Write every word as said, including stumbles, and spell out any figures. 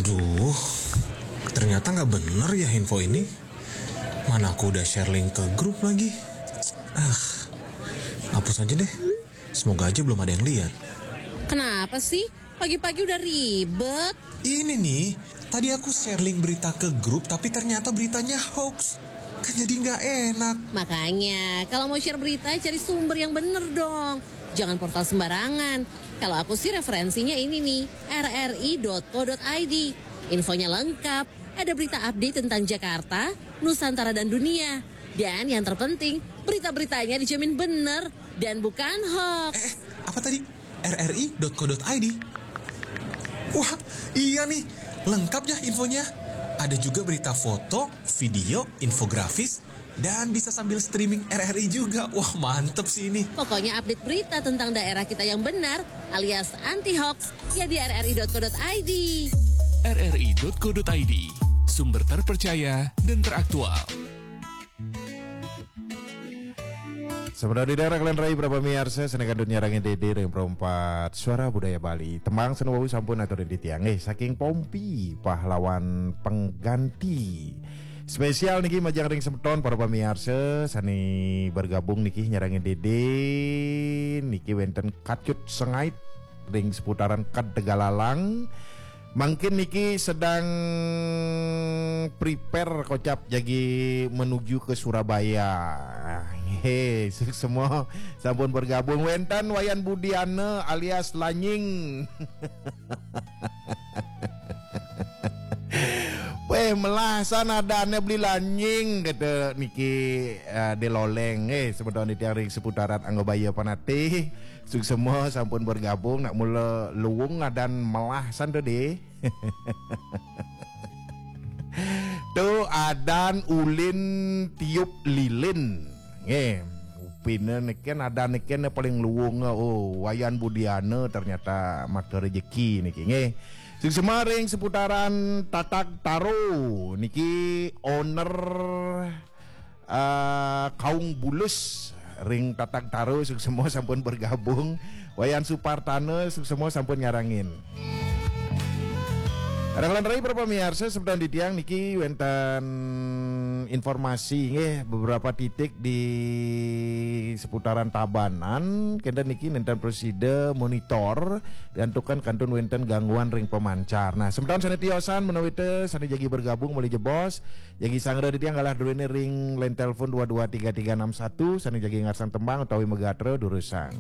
Duh, ternyata nggak bener ya info ini. Mana aku udah share link ke grup lagi. Ah, hapus aja deh. Semoga aja belum ada yang lihat. Kenapa sih? Pagi-pagi udah ribet. Ini nih, tadi aku share link berita ke grup tapi ternyata beritanya hoax. Kan jadi nggak enak. Makanya, kalau mau share berita, cari sumber yang bener dong. Jangan portal sembarangan. Kalau aku sih referensinya ini nih, rri.co.id. Infonya lengkap, ada berita update tentang Jakarta, Nusantara dan dunia. Dan yang terpenting, berita-beritanya dijamin bener dan bukan hoax. Eh, apa tadi? rri.co.id. Wah, iya nih, lengkap ya infonya. Ada juga berita foto, video, infografis, dan bisa sambil streaming RRI juga. Wah, mantep sih ini. Pokoknya update berita tentang daerah kita yang benar alias anti hoax ya di rri.co.id. rri.co.id, sumber terpercaya dan teraktual. Sebenarnya di daerah kalian rai berapa miarsa senekan dunia rangi dede yang perempat suara budaya Bali. Tembang senuwau sampun atur di tiang eh saking Pompi pahlawan pengganti. Spesial niki majang ring semeton para pamiarsa sani bergabung niki nyarangin dede niki wenten Kacut Sengait ring seputaran Kad Tegalalang. Mungkin niki sedang prepare kocap jagi menuju ke Surabaya. He, semua sampun bergabung wenten Wayan Budiana alias Lanying. Weh, melah sana ada ane beli lanying kata niki uh, deloleng eh semeton di tiang ring seputaran Anggobaya Panatih. Suksema sampun bergabung nak mula luwung adan melah san tu deh. Tu adan ulin tiup lilin. Nggih. Upina neken adan neken paling luwung oh Wayan Budiana ternyata maka rezeki niki nggih. Suksema ring seputaran Tatag Taro niki owner uh, Kaung Bulus ring Tatag Taro suksema sampun bergabung. Wayan Supartana suksema sampun nyarangin. Rakalan rai berapa miarsa semeton di tiang niki wenten informasi nggih beberapa titik di seputaran Tabanan kenten niki nenten presida monitor diantukan kantun wenten gangguan ring pemancar. Nah, semeton sane tiosan menawita sane jagi bergabung mulai jebos jagi sangra di tiang galah duene ring line telepon dua dua tiga tiga enam satu sane jagi ngarsang tembang utawi megatra durusang.